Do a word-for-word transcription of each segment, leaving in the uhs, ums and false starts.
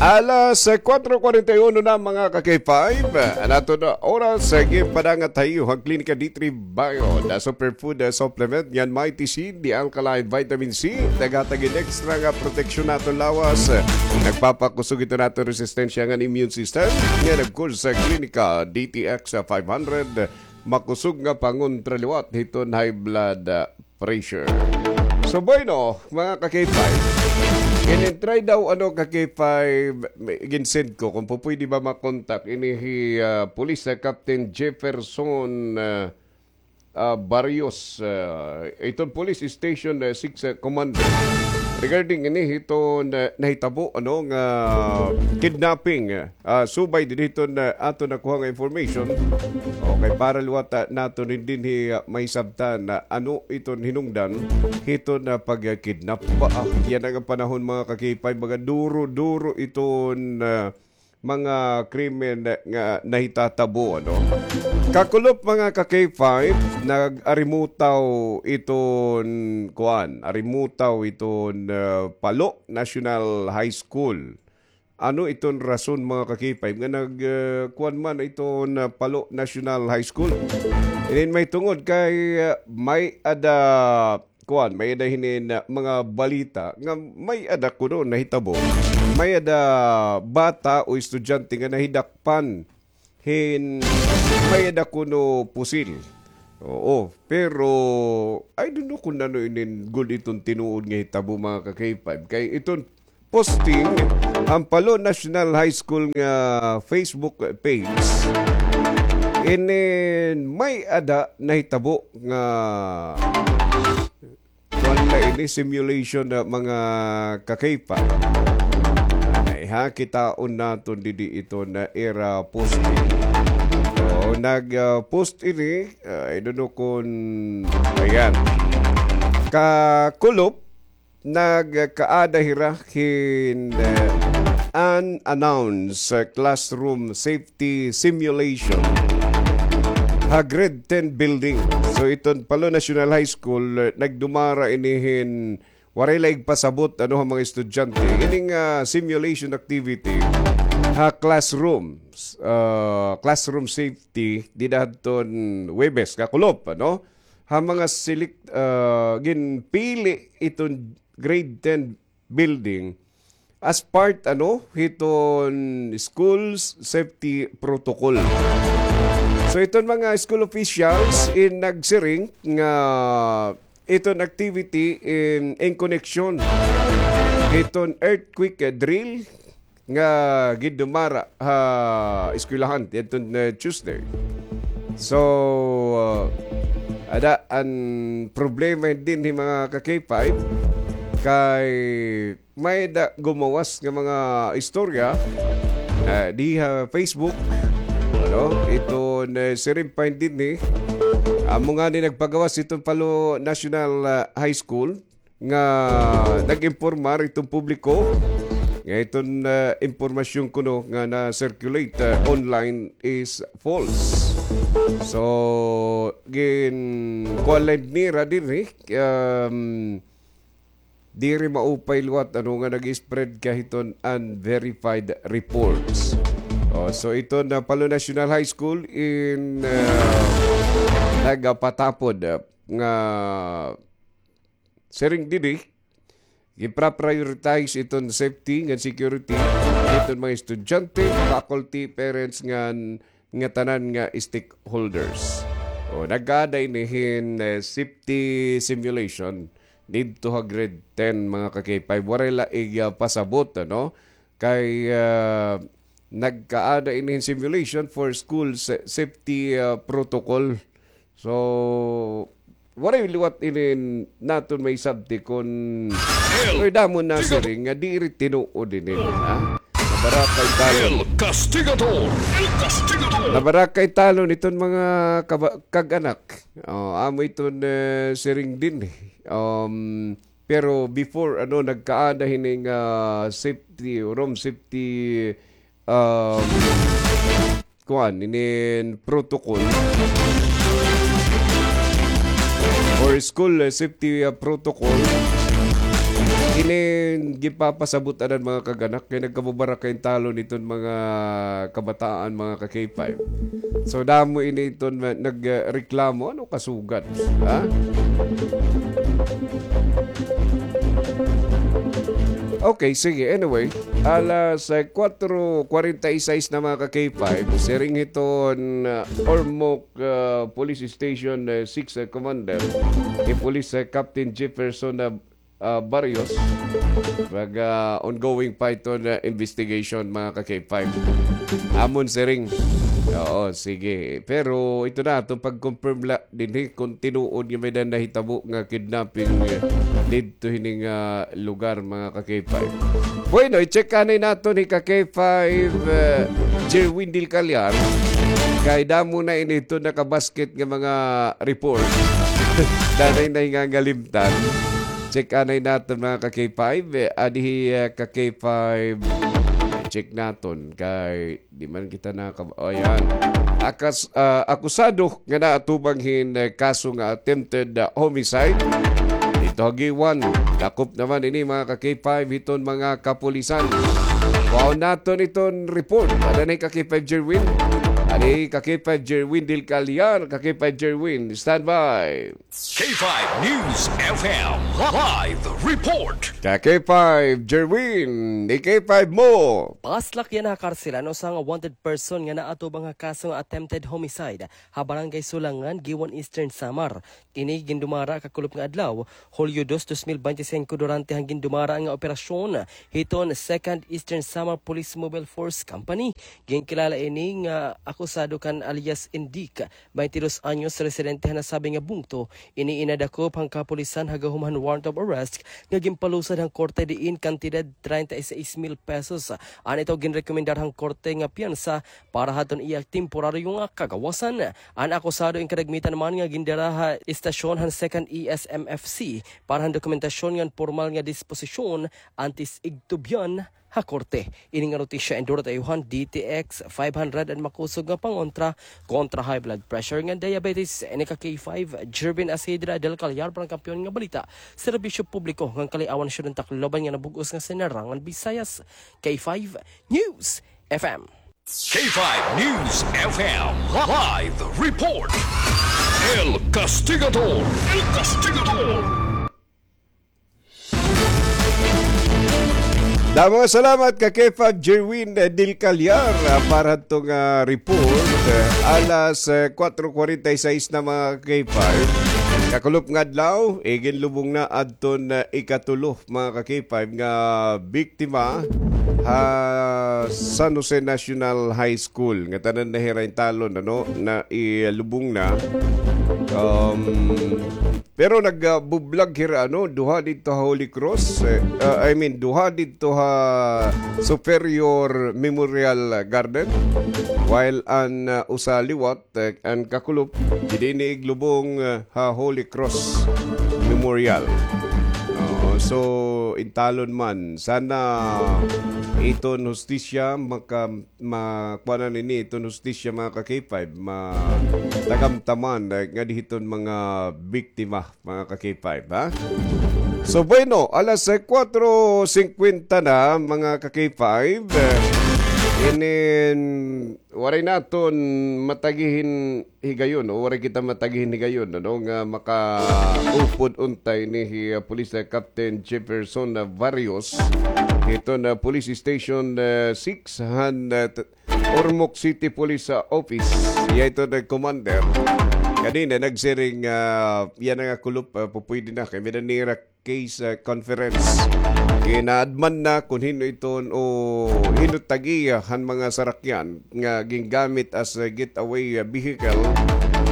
Alas, eh, kwatro kuwarenta y uno na, mga ka-K five. An aton oras, eh, ginpadangat ha iyo han Klinika D three Bio, the superfood, eh, supplement ngan Mighty Seed, the alkaline vitamin C, naghatag hin extra nga proteksyon ha aton lawas. Nagpapakusog ito han aton resistensya ngan immune system. Ngan, of course, sa Klinika D T X five hundred, makusog nga pangontra liwat hiton high blood, ah, pressure. So, bueno, mga ka-K five, in-try daw, ano, ka-K five, may, gin-send ko kung pupwede ba makontak ini hi, ah, Police, ah, Captain Jefferson, ah, ah, Barrios, ah, iton Police Station, ah, six, ah, Commander. Regarding ini hiton, ah, nahitabo, ano, nga kidnapping, ah, Ah, subay didi hiton, ah, aton nakuha nga information. Okay, para liwat, ah, naton dinhi, ah, mahisabtan na ano iton hinungdan hiton, ah, pagkidnap. Ba, ah, yana nga panahon, mga ka-K five, mga duro-duro iton, ah, mga krimen nga nahitatabo, ano? Kakulop, mga ka-K five, nag-arimutaw iton, kuan, arimutaw iton, ah, Palo National High School. Ano iton rason, mga ka-K five, nga nag, ah, kuan man iton, ah, Palo National High School? Inin mahitungod kay, ah, may-ada, kuan, may-ada hinin, ah, mga balita nga may-ada kuno nahitabo. May-ada bata o estudyante nga nahidakpan hin may-ada kuno pusil. Oo, pero I don't know kung ano inin gud iton tinuod nga hitabo, mga ka-K five. Kay iton posting han Palo National High School nga Facebook page, inin may-ada nahitabo nga kuan na ini, simulation na, mga ka-K five. Ay, ha, kitaon naton didi iton, ah, ira posting. Oo, nag, ah, post ini, ah, I don't know kung, ayan. Kakulop, nagkaada hira hin, ah, unannounced, ah, classroom safety simulation ha Grade ten building. So, iton Palo National High School, eh, nagdumara ini hin waray la igpasabot, ano, ha mga estudyante. Ining, ah, simulation activity ha classrooms, ah, classroom safety, dida hadton Huwebes, kakulop, ano? Ha mga select, ah, ginpili iton Grade ten building as part, ano, hiton schools safety protocol. So, iton mga school officials in nagsiring nga iton activity in, in connection hiton earthquake drill nga gindumara ha eskwelahan yadton, eh, Tuesday. So, uh, ada an problema dinhi, mga ka-K five, kay may-ada gumawas nga mga istorya, eh, di ha Facebook, ano, iton, eh, siring pa dinhi, amo ngani nagpagawas iton Palo National, ah, High School nga nag-impormar iton publiko nga iton, ah, impormasyon kuno nga na-circulate, ah, online is false. So, gin-, kuan la nira dinhi, um, diri maupay liwat, ano, nga nag-spread ka hiton unverified reports. Oh, so iton, ah, Palo National High School in, ah, nagapatapod, ah, nga siring didi, gipra-prioritize iton safety ngan security iton mga estudyante, faculty, parents, ngan ngatanan nga stakeholders. O, nagkaada ini hin, eh, safety simulation didto ha Grade ten, mga ka-K five. Waray la igpasabot, ano? Kay, ah, nagkaada ini hin simulation for school sa-, safety, ah, protocol. So, waray liwat ini naton maisabti kon, oy, damo nasiring nga diri tinuod ini, ha? Nabarakay talon. El Castigador. El Castigador. Nabarakay talon iton mga kaba-, kag-anak. Oh, amo iton, eh, siring dinhi. Um, pero before, ano, nagkaada hini nga safety, room safety, um, kuan, inin protocol or school, eh, safety, ah, protocol. Ini gipapasabot anan, mga kag-anak, kay nagkababaraka intalon iton mga kabataan, mga ka-K five. So, damo ini iton ma-, nagreklamo, ano kasugad, ha? Okay, sige. Anyway, alas, eh, kwatro kwarenta y seis na, mga ka-K five, siring hiton, ah, Ormoc, ah, Police Station, eh, six, eh, Commander, hi Police, eh, Captain Jefferson, ah, ah, Barrios. Mag, ah, ongoing pa iton, ah, investigation, mga ka-K five. Amon siring. Oo, sige. Pero ito na, itong pag-confirm la, dinhi kung tinuod nga may-ada nahitabo nga kidnapping, eh, didto hini nga lugar, mga ka-K five. Bueno, i-check anay naton hi ka-K five, eh, Jerwin Del Callar. Kay damo na ini iton nakabasket nga mga report. Danay na hingangalimtan. Check anay naton, mga ka-K five. Eh, adi hi, eh, ka-K five. Check naton kay di man kita nakab-, o, yan. Akas-, ah, akusado nga naatubang hin, eh, kaso nga attempted, ah, homicide. Didto ha Guiuan, dakop naman ini, mga ka-K five, hiton mga kapulisan. Kuhaon naton iton report. Ada na hi ka-K five Jerwin. Ada hi ka-K five Jerwin Del Callar, ka-K five Jerwin. Standby. K five News F M live report. Ka-K five Jerwin, i-K five mo. Paslak yana ha karselan usa nga wanted person nga naatubang ha kaso nga attempted homicide ha Barangay Sulangan, Guiuan, Eastern Samar. Ini gindumara kakulop nga adlaw, Hulyo dos, dos mil bente singko, durante han gindumara nga operasyon hiton Second Eastern Samar Police Mobile Force Company. Ginkilala ini nga akusado kan alias Indik, baynte dos anyos, residente han nasabi nga bungto. Ini in nadakop han kapulisan ha gahom han warrant of arrest nga ginpalusad han korte, diin kantidad treinta y seis mil pesos an ito ginrekomendar han korte nga piyansa para hadton iya temporaryo nga kagawasan. An akusado in kadagmitan man nga gindara ha istasyon han Second E S M F C para han dokumentasyon ngan pormal nga disposisyon antes igtubyan ha korte. Ini nga notisya in durat ha iyo han D T X five hundred, an makusog nga pangontra kontra high blood pressure ngan diabetes. Ini ka-K five, Jervin Asidra del Callar, para han Kampiyon nga Balita, Serbisyo Publiko ngan Kaliawan, Siyudad han Tacloban nga nabug-os nga Sinarangan Visayas. K five News F M. K five News F M live report. El Castigador. El Castigador. Damo nga salamat ka-K five Jerwin, eh, Del Callar, ah, para hadto nga report. Eh, alas, eh, kwatro kwarenta y seis na, mga ka-K five. Kakulop nga adlaw, iginlubong na adton, eh, ikatulo, mga ka-K five, nga biktima ha San Jose National High School. Ngatanan na hira intalon, ano, nailubong na. Um, Pero nag, ah, bublag hira, ano, duha didto ha Holy Cross, eh, ah, I mean, duha didto ha Superior Memorial Garden, while an, ah, usa liwat, eh, an kakulop, didi ini iglubong, ah, ha Holy Cross Memorial. Oo, so, intalon man, sana iton hustisya maka-, ma-, kuanan ini iton hustisya, mga ka-K five, ma-, tagamtaman, eh, ngadi hiton mga biktima, mga ka-K five, ha? So, bueno, alas, eh, kwatro singkwenta na, mga ka-K five, eh, inin, waray naton matagi hin higayon, o waray kita matagi hin higayon, ano, nga makaupod unta ini hi, ah, Police, ah, Captain Jefferson, ah, Barrios, hiton, ah, Police Station, ah, six han, ah, t-, Ormoc City Police, ah, Office. Iya ito nag-commander. Kanina, nagsiring, ah, iya na nga kulop, ah, pupwede na. Kay may-ada nira case, ah, conference. Ginaadman na kung hin-o iton o hin-o tag-iya han mga sarakyan nga gingamit as a getaway, ah, vehicle.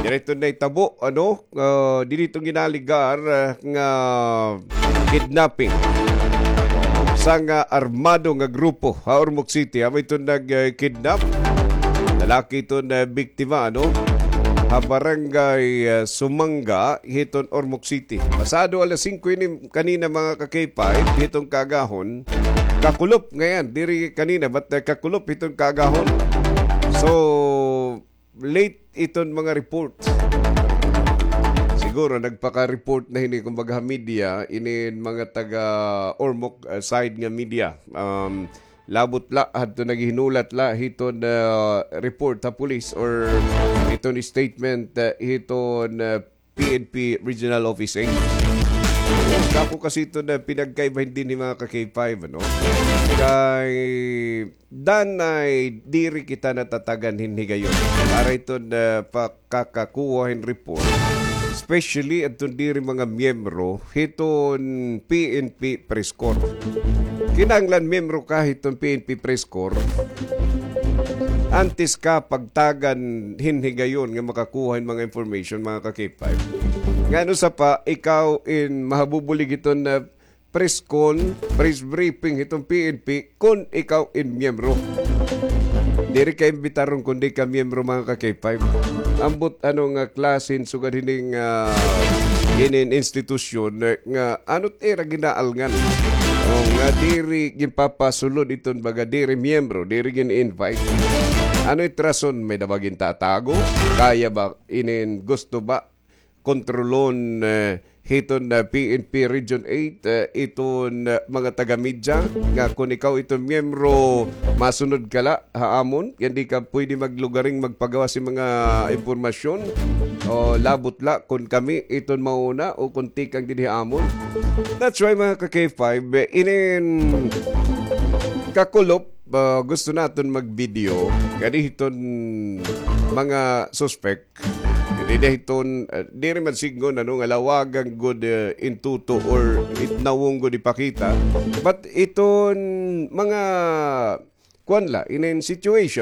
Direto na itabo, ano, ah, diri iton ginaligar, ah, nga kidnapping. Usa nga armado nga grupo ha Ormoc City, amo iton nag, ah, kidnap. Lalaki iton, ah, biktima, ano, ha barangay, ah, Sumanga, hiton Ormoc City. Pasado alas singko ini kanina, mga ka-K five, hiton kaagahon. Kakulop ngayan, diri kanina, but, ah, kakulop hiton kaagahon. So, late iton mga report. Sige, siguro nagpaka-report na hini, kumbaga, ha media, inin mga taga Ormoc, ah, side nga media. Um, labot la, hadto naghihinulat la hiton, ah, report ha police or hiton statement, ah, hiton, ah, P N P Regional Office eight. Dako kasi ito na pinagkaibahan dinhi, mga ka-K five, ano? Kay danay diri kita natatagan hin higayon para ito na pakakakuha hin report, especially adton diri mga miyembro hiton P N P Press Corps. Kinahanglan miyembro ka hiton P N P Press Corps antes ka pagtagan hin higayon nga makakuha hin mga information, mga ka-K five. Ngano sa pa, ikaw in mahabubulig hiton na press con, press briefing hiton P N P, kon ikaw in miyembro. Diri ka imbitaron kon di ka miyembro, mga ka-K five. Ambot ano nga klase hin sugad hining, ah, inin institusyon, eh, nga ano it ira ginaalngan. O, nga diri ginpapasulod iton baga diri miyembro, diri gin-invite. Ano it rason? May-ada ba gintatago? Kaya ba inin gusto ba kontrolon, eh, hiton, eh, P N P Region eight, eh, iton, eh, mga taga-media nga kon ikaw iton miyembro, masunod ka la ha amon, kay di ka pwede maglugaring magpagawas hin mga impormasyon o labot la kon kami iton mauna o kon tikang dinhi ha amon. That's why, mga ka-K five, eh, inin kakulop, ah, gusto naton mag-video kani hiton mga suspect. Diri hiton, ah, diri man sidngon, ano, nga lawagan gud, eh, in tuto or it nawong gud ipakita. But iton mga, kuan la, inin situation,